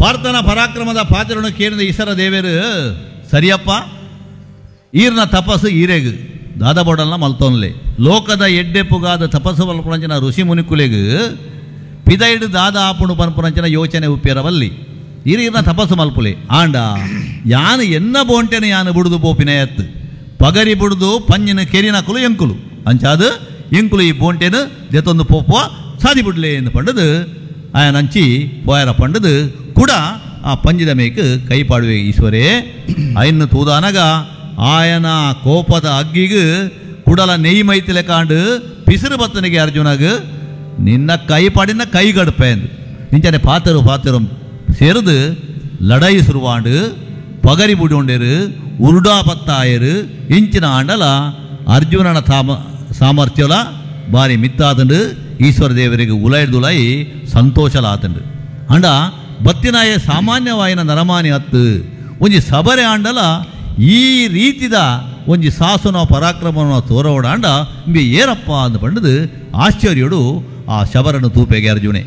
ಪಾರ್ಥನ ಪರಾಕ್ರಮದ ಪಾತ್ರನು ಕೇಳಿದ ಈಶ್ವರ ದೇವರು, ಸರಿಯಪ್ಪ, ಈರ್ನ ತಪಸ್ಸು ಈರೆಗ್ ದಾದ ಬೋಡಲ್ನ ಮಲ್ತೊನ್ಲೆ. ಲೋಕದ ಎಡ್ಡೆಪ್ಪುಗಾದ ತಪಸ್ಸು ಮಲ್ಪುನಂಚಿನ ಋಷಿ ಮುನಿಕುಲೆಗ್ ಪಿದೈಡು ದಾದ ಆಪುಣು ಪನ್ಪುನಂಚಿನ ಯೋಚನೆ ಉಪ್ಪಿರವಲ್ಲಿ. ಈರ್ನ ತಪಸ್ಸು ಮಲ್ಪುಲೆ. ಆಂಡ ಯಾನು ಎನ್ನ ಬೋಂಟೆನ ಯಾನು ಬುಡುದು ಪೋಪಿನ ಎತ್ತು ಪಗರಿ ಬುಡುದು ಪಂಜಿನ ಕೆರಿನಕುಲು ಎಂಕುಲು. ಅಂಚಾದು ಎಂಕುಲು ಈ ಬೋಂಟೆನು ದೆತೊಂದು ಪೋಪುವ, ಸಾದಿ ಬುಡ್ಲೆ ಎಂದು ಪಂಡದು ಆಯನಂಚಿ ಪೋಯರ ಪಂಡದು ಕೂಡ ಆ ಪಂಜಿದ ಮೇಕ್ ಕೈ ಪಾಡುವೆ ಈಶ್ವರೇ. ಅಯ್ಯನ್ನು ತೂದಾನಗ ಆಯನ ಕೋಪದ ಅಗ್ಗಿಗ್ ಕುಡಲ ನೆಯ್ ಮೈತಿಲೆ ಕಾಂಡು ಪಿಸಿರು ಬತ್ತನಿಗೆ ಅರ್ಜುನಗ್ ನಿನ್ನ ಕೈ ಪಾಡಿನ ಕೈ ಗಡ್ಪೆ ಎಂದು. ಇಂಚನೆ ಪಾತೆರು ಪಾತೆರು ಸೇರಿದು ಲಡಾಯಿ ಶುರುವಾಂಡು. ಪಗರಿ ಬುಡೊಂಡೇರು, ಉರುಡಾ ಪತ್ತಾಯರು. ಇಂಚಿನ ಆಂಡಲ ಅರ್ಜುನನ ತಾಮ ಸಾಮರ್ಥ್ಯಲ ಬಾರಿ ಮಿತ್ತಾತಂಡು. ಈಶ್ವರ ದೇವರಿಗೆ ಉಲೈಡ್ದುಲೈ ಸಂತೋಷಲಾತಂಡು. ಅಂಡ ಬತ್ತಿನಾಯ ಸಾಮಾನ್ಯವಾಯಿನ ನರಮಾನಿ ಅತ್ತು, ಒಂಜಿ ಸಬರೆ ಆಂಡಲ ಈ ರೀತಿದ ಒಂಜಿ ಸಾಸುನ ಪರಾಕ್ರಮನ ತೋರವಡ. ಆಂಡ ಇಂಬೆ ಏರಪ್ಪ ಅಂದ್ ಪಂಡದು ಆಶ್ಚರ್ಯಡು ಆ ಶಬರನು ತೂಪೆಗೆ ಅರ್ಜುನೆ.